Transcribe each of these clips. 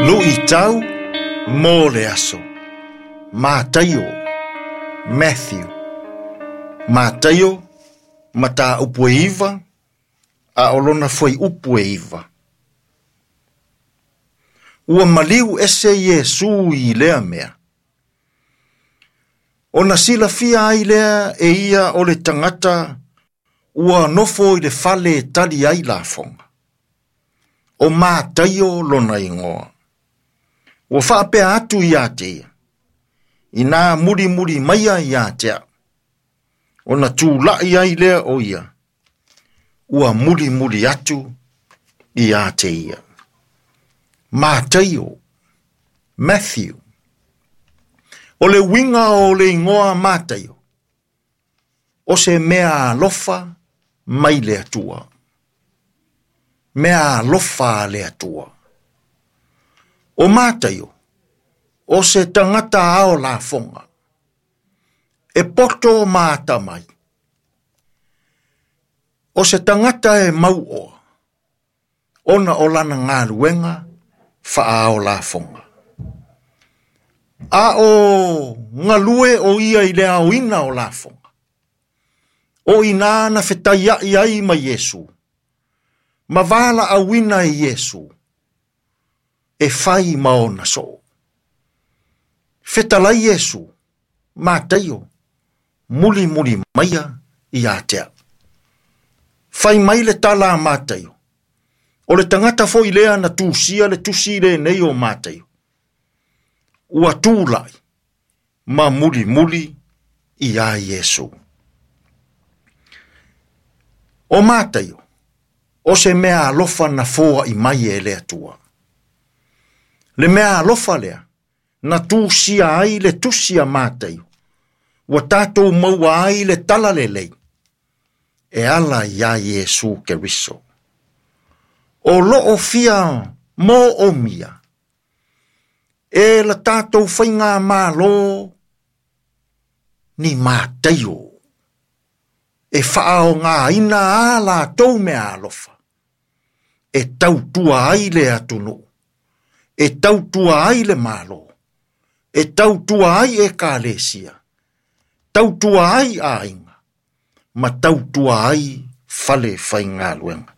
Luʻitau mo le aso. Mataio, Matthew. Mataio, mataupu e 9, a o lona fuaiupu e 9. Ua maliu ese Iesu i lea mea. Ona silafia ai lea e ia o le tagata ua nofo i le fale e tali ai lafoga. O Mataio lona igoa. Ua faapea atu ia te ia, inā mulimuli maia ia te au. Ona tulaʻi ai lea o ia, ua mulimuli atu ia te ia. Mataio, Matthew. O le uiga o le igoa Mataio, o se mea alofa mai le Atua. Mea alofa a le Atua. O Mataio, o se tagata ao lafoga. E poto ma atamai. O se tagata e mauoa, ona o lana galuega faaao lafoga. A o galue o ia i le aoina o lafoga. O ina na fetaiaʻi ai ma Iesu, ma valaauina e Iesu, e fai ma ona soo. Fetalai Iesu, Mataio, mulimuli maia ia te au. Fai mai le tala a Mataio. O le tagata foi lea na tusia le tusi lenei o Mataio. Ua tulai ma mulimuli ia Iesu. O Mataio, o se mea alofa na foaʻi mai e le Atua. Le mea alofa lea, na tusia ai le tusi a Mataio. Ua tatou maua ai le tala lelei, e ala ia Iesu Keriso. O loo fia moomia, e la tatou faigamalo ni Mataio, e faaaogāina a latou mea alofa, e tautua ai le atunuu, e tautua ai le Malo, e tautua ai ekalesia, tautua ai aiga, ma tautua ai fale faigaluega.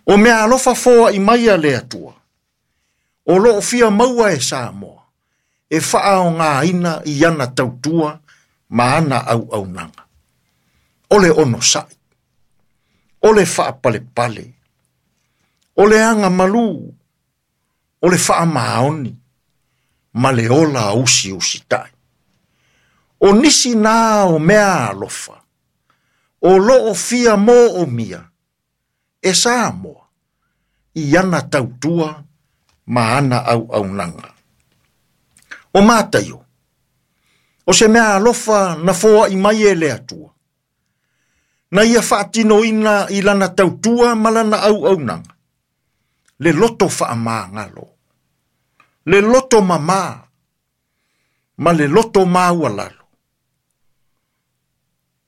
O mea alofa foaʻi mai a le Atua, o loo fia maua e Samoa, e faaaogāina i ana tautua ma ana auaunaga. O le onosaʻi, o le faapalepale, o le agamalu, o le faamaoni, ma le ola usiusitai. O nisi na o mea alofa, o loo fia moomia, e Samoa, i ana tautua ma ana auaunaga. O Mataio, o se mea alofa na foaʻi mai e le Atua, na ia faatinoina i lana tautua ma lana auaunaga, le loto faamagalo, le loto mamā, ma le loto maualalo,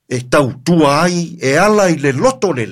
e tautua ai e ala i le loto lelei.